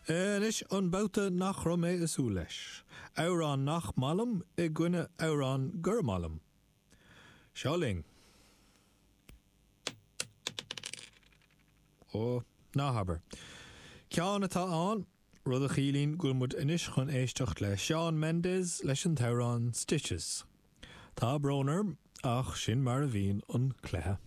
Anois an babhta nach raibh mé ag súil leis. Amhrán nach maith liom i gcoinne amhrán gur maith liom. Seo linn. Ó, ná habair. Ceann atá ann, rud a chiallaíonn go bhfuil muid anois chun éisteacht le Shawn Mendes leis an t-amhrán Stitches. Tá brón orm, ach sin mar a bhíonn an cluiche.